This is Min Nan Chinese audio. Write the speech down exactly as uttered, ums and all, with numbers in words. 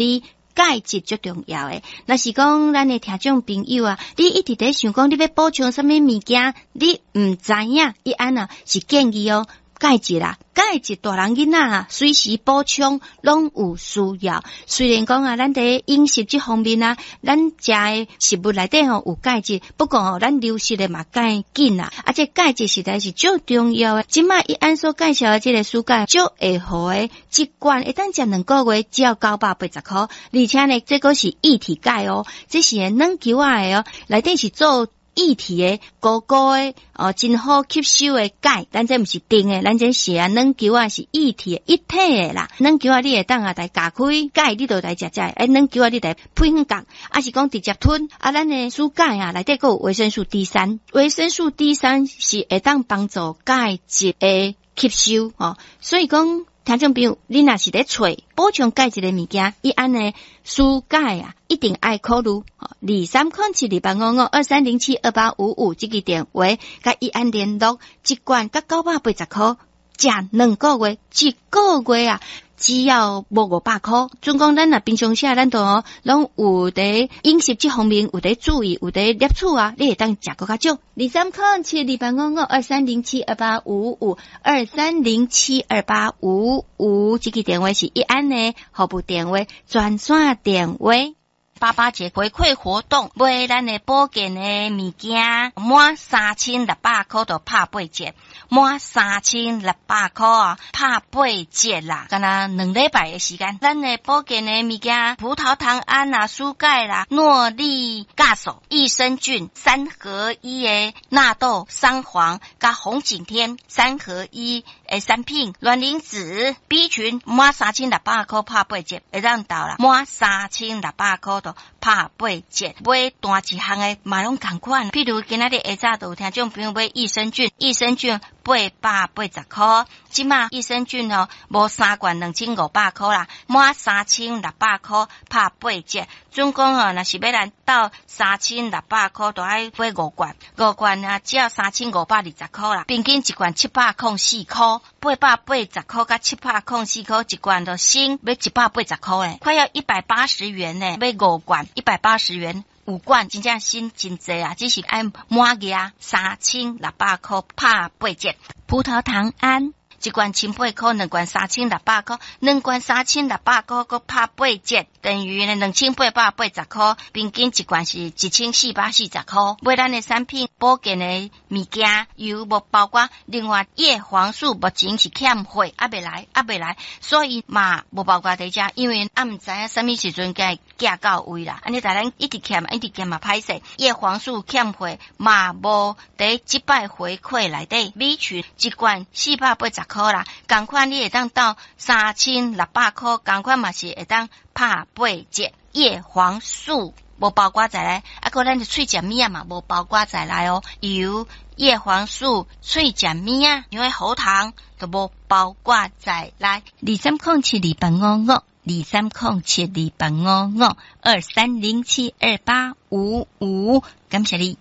你鈣質足重要的。若是講咱的聽眾朋友啊，你一直佇想講你欲補充啥物物件，你毋知影，伊按啊是建議哦。鈣質啦，鈣質大人囡仔啊，隨時補充攏有需要。雖然講啊，咱佇飲食這方面啊，咱食的食物內底吼有鈣質，不過吼咱流失的嘛較緊啊。啊，這鈣質實在是足重要的。這擺伊按所介紹的這个舒鈣足會好的，一罐會當食兩個月，只要九百八十箍。而且呢，這閣是液體鈣哦，這是軟球仔的哦，內底是做液體的，糊糊的哦，真好吸收的鈣。咱這毋是甜的，咱這是啊軟球仔是液體的，一體的啦。軟球仔你會當啊來咬開鈣，你就來食食。欸，軟球仔你來配粉角，抑是講直接吞。啊，咱的舒鈣啊，內底閣有維生素 D 三，維生素 D 三是會當幫助鈣質的吸收哦。所以講，聽眾朋友，你若是咧揣補充鈣質的物件，伊按呢舒鈣啊，一定愛考慮。二三空七二八五五二三零七二八五五這个電話，佮伊按聯絡，一罐閣九百八十箍，食兩個月，一個月啊，只要無五百箍。總講咱若平常時啊，咱都攏有佇飲食這方面有佇注意，有佇攝取啊，你會當食閣較少。二三空七二八五五二三零七二八五五二三零七二八五五，這个電話是一安的服務電話，專線電話。爸爸節回饋活動，買咱的保健的物件，滿三千六百箍就拍八折，滿三千六百箍啊，拍八折啦！敢若兩禮拜的時間，咱的保健的物件，葡萄糖胺啊、舒鈣啦、諾麗酵素、益生菌三合一的納豆、三黃佮紅景天三合一的產品，卵磷脂 B 群滿三千六百箍拍八折，會當到啦，滿三千六百箍就拍八折，買單一項的嘛攏仝款。譬如今仔日下早就有聽眾朋友買益生菌，益生菌八百八十箍，這馬益生菌哦，無三罐兩千五百箍啦，滿三千六百箍拍八折。總共哦，若是欲來到三千六百箍，就愛買五罐，五罐啊，只要三千五百二十箍啦。平均一罐七百空四箍，八百八十箍佮七百空四箍，一罐就省欲一百八十箍咧，快要一百八十元呢，買五罐一百八十元。五罐真正省真濟啊！只是愛滿額三千六百箍拍八折。葡萄糖胺一罐千八箍，兩罐三千六百箍，兩罐三千六百箍，閣拍八折，等於呢兩千八百八十箍，平均一罐是一千四百四十箍。買咱的產品保健的物件，又無包括另外葉黃素，目前是欠貨，猶未來，猶未來，所以嘛無包括佇遮，因為猶毋知影啥物時陣才會寄到位啦。按呢逐咱一直欠，一直欠嘛歹勢。葉黃素欠貨嘛無佇這擺回饋內底，B 群一罐四百八十箍啦，仝款你會當到三千六百箍，仝款嘛是會當拍八折。葉黃素無包括在內，啊，閣咱的喙食物仔嘛無包括在內哦。油、葉黃素、喙食物仔，因為喉糖都無包括在內。二三空七二八五五，二三空七二八五五，二三零七二八五五，感謝你。